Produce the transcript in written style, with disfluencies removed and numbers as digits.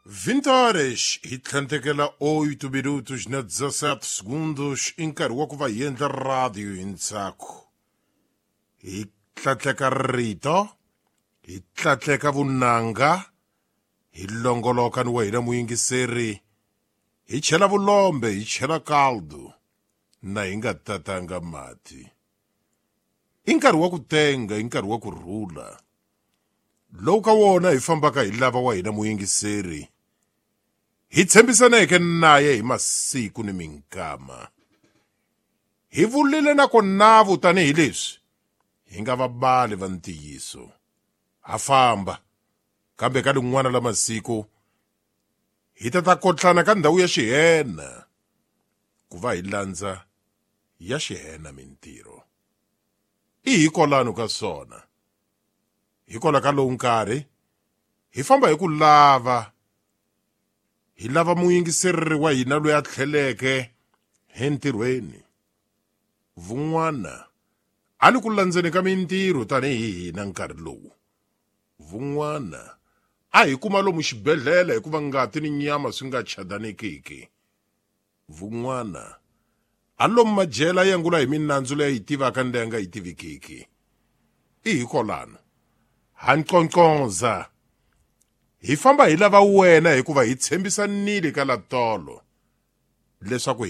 20 horas hi tlhandlekela 8 minutos na 17 segundos i nkarhi wa ku va hi endla radio hi ntsako hi tlatleka rito hi tlatleka vunanga hi longoloka ni wa hina muyingiseri hi chela vulombe hi chela caldo na hi nga tatanga mati i nkarhi wa ku tenga i nkarhi wa ku rhula lowu ka wona hi fambaka hi lava wa hina muyingiseri hi tshembisaneke naye hi masiku ni minkama hi vulile na ko navu tanihileswi hi nga vabali va ntiyiso ha famba kambe ka lin'wana la masiku hi ta ta kotlana ka ndhawu ya xihena ku va hi landza ya xihena mintirho i hikolano ka swona hikwalaho ka lowu nkarhi hi famba hi ku lava hi lava muyingiseriri wa hina loyi a tlheleke entirhweni vun'wana a li ku landzeni ka mintirho tanihi hina nkarhi lowu vun'wana a hi kuma lomu xibedhlele hikuva ngati ni nyama swi nga chadanekiki vun'wana a lomu majele a yangula hi minandzu leyi yi tivaka ni leyi nga yi tivikiki i hikolano ha nqonqoza hi famba hi lava wena hikuva hi tshembisanile ka latolo leswaku